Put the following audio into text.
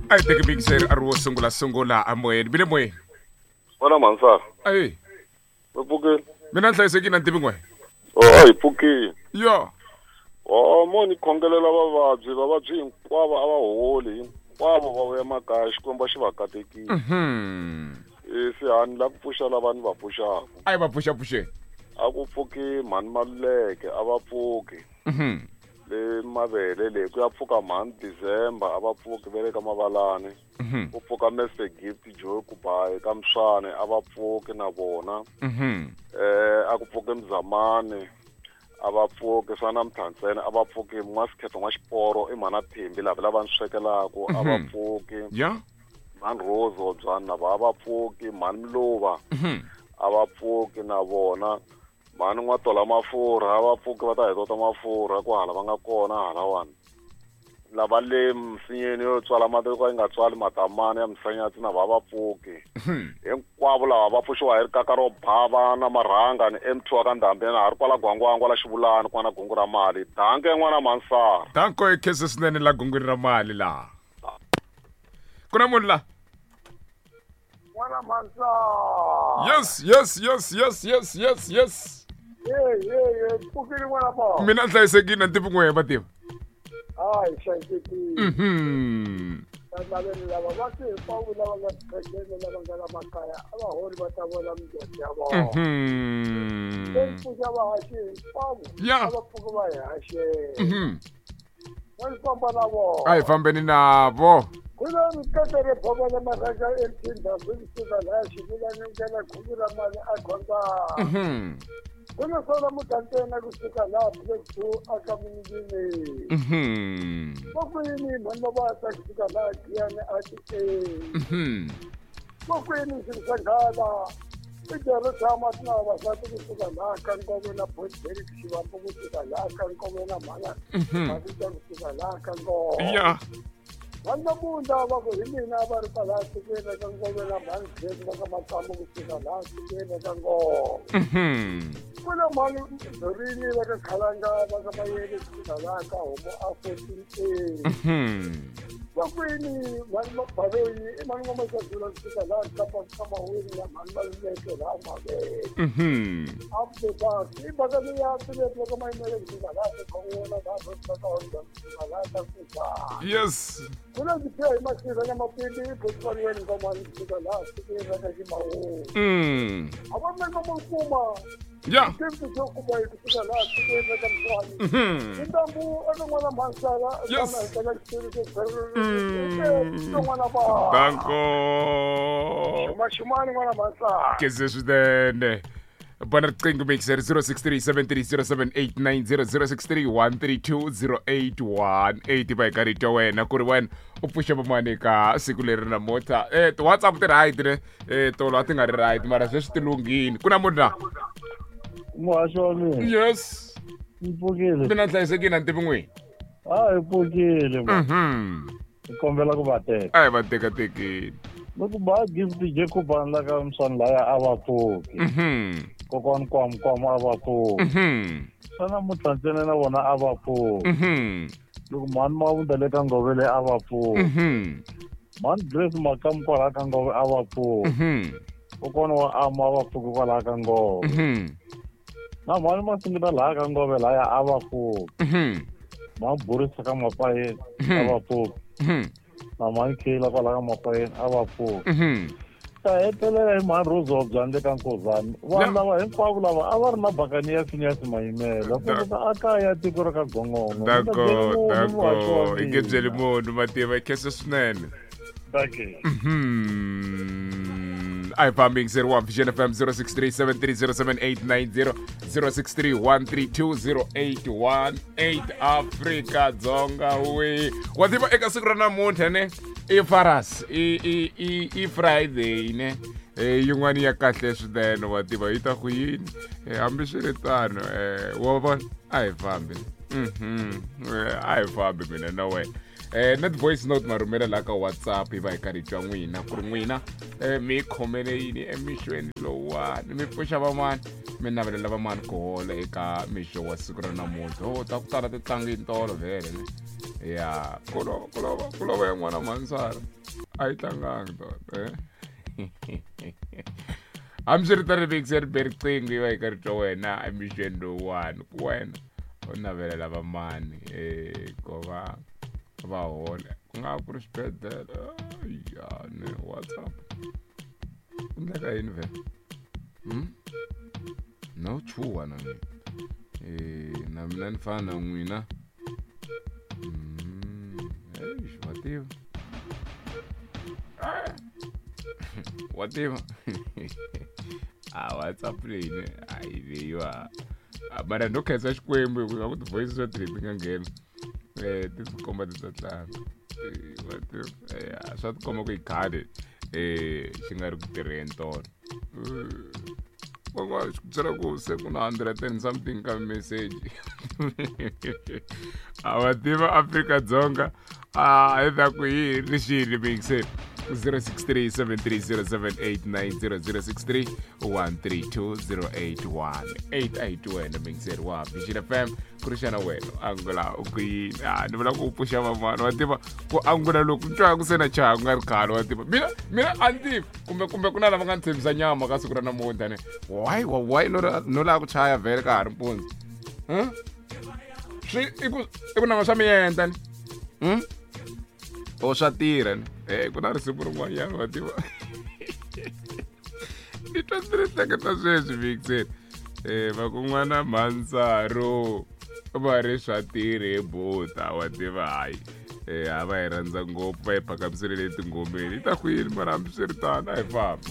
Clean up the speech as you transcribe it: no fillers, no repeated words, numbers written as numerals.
A hi teki mixer a ri wo sungula sungula amoyeni bile moyeni. Wena mhansana. Ayi. Mi pfukile? Mina ni hlayisekile na ni tivi n'we. Oh, a hi pfukile. Yo. Oh, mo ni khongelela vavabyi, vavabyi hinkwavo a va holi, hinkwavo va vuya makaya, Xikwembu a xi va katekile. E se a ni la ku pfuxa lava ni va pfuxaka. A yi va pfuxa pfuxeni. A ku pfuki mhani Maluleke, a va pfuki. Le mavele le ku ya pfuka mhani December, a va pfuki va le ka Mavalani. Ku pfuka Mr Gift Joe Kubayi ka Mswane, a va pfuki na vona. A ku pfuki Mzamani, a va pfuki swa na Mthantsene, a va pfuki N'wasikhetho N'waxiporo i mhana Thembi lava lava ni swekelaku, a va pfuki. Mhani Rose Hobyani na va a va pfuki, mhani Mluva a va pfuki na vona, mhani N'watola Mafurha a va pfuki va ta hi tota mafurha ku hala va nga kona halawani. Lava le misinyeni yo tswala mati yo ka yi nga tswali matamani ya misanyatsi na va va pfuki. Hinkwavo lava va pfuxiwa hi rikaka ro bava na marhanga ni M2 wa ka Ndhambi na ha ri kwala Gwangwangwa la Xivulani kwana gungu ra mali. Danke n'wana Mansara. Danko i khensa swinene la gungwini ra mali laha. Ku na munhu la? N'wana Mansara. Yes, yes, yes, yes, yes, yes, yes. Hey, hey, hey, pfukile n'wana ma. Mina ni hlayisekile na ni tivi n'wehe mativa. Hayi, hlayisekile. Valaveli lava va ti hinkwavo lava nga swibedhlele lava nga la makaya a va holi va ta vona mindyangu ya vona. Se ni pfuxa vahaxi hinkwavo a va pfuki va hi haxela. Va ni famba na vona. A hi fambeni navo. Ku na rikete ro bovela marhanga emthinda kusuka laha xivulani nghena khuvi ra mali a khondzana. Ku na swona mugangeni kusuka laha Black Two aka Muningini. Va kwini mhani Mabasa kusuka laha Giyani a ti e. Va kwini swilo swa nghala i byalo tshama tina vavasati kusuka laha ka Nkove na Port Derrick Xivambu kusuka laha ka Nkove na mhana Mavita kusuka laha ka Nkove. Vanhu va Bunda va ku hi mina va ri kwalaha tikweni ra ka Ngove na mhani Grace va ka Makambu kusuka laha tikweni ra ka Ngove. Ku na mhani Dorini va ka Khalanga va ka Mayele kusuka laha ka Homo a 14A. Va kwini mhani Baloyi i mhani N'wamasazula kusuka laha Kapa ka Maweni na mhani Maluleke laha Mavele. Abdebak i mhaka leyi ya Tuleti va ka Mayimele kusuka laha Tikhon'wana laha va ka Honda kusuka laha ka Yes. Kuna ndzi hi masirha na mapimbi i Botswanweni ngomani kusuka laha tikweni ra ka Ximawungu. A va mi nga kuma. Xiphiqo xo kuma hi kusuka laha tikweni ra ka Mswani. Intambu eka n'wana Mhansala Yes. na hekela xitulu xo n'wana va. Danko. Xuma xumani n'wana Mhansala. Keze swinene. Bona riqingho mixer 0637307890 0631320818 va hi karhi hi twa wena ku ri wena u pfuxa vamani eka siku leri namuntlha. Ti-WhatsApp ti right ne? Tolo a ti nga ri right mara sweswi ti lunghile. Ku na munhu la? Muhaxi wa mina. Yes. Ni pfukile. Mina ni hlayisekile a ni tivi n'wini. A hi pfukile ma. Hi kombela ku va teka. A hi va tekatekeni. Loko ba Gift Jacob a la ka Mswani laya a va pfuki. Kokwani Kwamu Kwamu a va pfuki. Xana Mutlantsene na vona a va pfuki. Loko mhani Mavunda le ka Ngove le a va pfuki. Mhani Grace Makamu kwalaha ka Ngove a va pfuki. Kokwana wa Ama a va pfuki kwalaha ka Ngove. Na mhani Masingita laha ka Ngove laya a va pfuki. Mhani Borisa ka Mapayeni a va pfuki. Na mhani Kayla kwalaha ka Mapayeni a va pfuki. Ta hetelela hi mhani Rose Hobyani le ka Nkozani. Vanhu lava hinkwavo lava a va ri na bakani ya Phineas Mayimela. Ku ta a kaya tiko ra ka Gongongo. Dako, dako. I nge byeli munhu mativa i khensa swinene. Thank you. A hi fambi yingiseri wa Vision FM 0637307890 0631320818 Afrika Dzonga we. Wa tiva eka siku ra namuntlha ne i Faras i i i i Friday ne. Yin'wana ya kahle swinene wa tiva yi ta ku yini. Hambiswiritano wa vona a hi fambi. A hi fambi mina na wena. Na ti-voice note ma rhumela laha ka WhatsApp hi va hi karhi hi twa n'wina ku ri n'wina mi khomele yini emixweni lowuwani mi pfuxa van'wana mi navelela van'wana ku hola eka mixo wa siku ra namuntlha. Oh, ta ku tala ti tlangini tolo vhele ne. Ya ku lova ku lova ya n'wana mhansara a yi tlangangi tona hambiswiritano mixer be riqingho yi va yi ka ri twa wena emixweni lowuwani ku wena u navelela vamani um ku va va hola ku nga ku ri xibedhlele ya ne whatsapp ku ndleka yini vhele No chuha na mina na mina ni fana na n'wina. Eish, wa tiva wa tiva a whatsapp leyi ne a yi leyiwa mara no khensa xikwembu hi ku nga ku ti-voice swa ti nga nghena um ti tikomba ti ta tlanga. Wa tiva swa tikomba ku i khale um xi nga ri ku tirheni tona. Van'wana xi ku byela ku se ku na 100 and something ka message. A wa tiva Afrika-Dzonga a hi ta ku yi ri xini mixer 063 7307890 063 132 081 88 wena mixer wa Vision FM ku ri xana wena u angula u ku yini? A ni vula ku u pfuxa van'wana wa tiva ku angula loku ni twa ku se na chaya ku nga ri khale wa tiva mina mina a ni tivi kumbe kumbe ku na lava nga ni tshembisa nyama ka siku ra namuntlha ne why why no no lava ku chaya vhele ka ha ri mpundzu swi i ku nanga swa miendla ni o swa tirha ni ku na risimu rin'wanyana wa tiva ni twa ndzi ri hleketa sweswi vixen va ku n'wana mhandzaro va ri swa tirhe buta wa tiva hayi a va yi rhandza ngopfu va yi phakamisele le tingomeni yi ta ku yini mara hambiswiritano a hi fambi.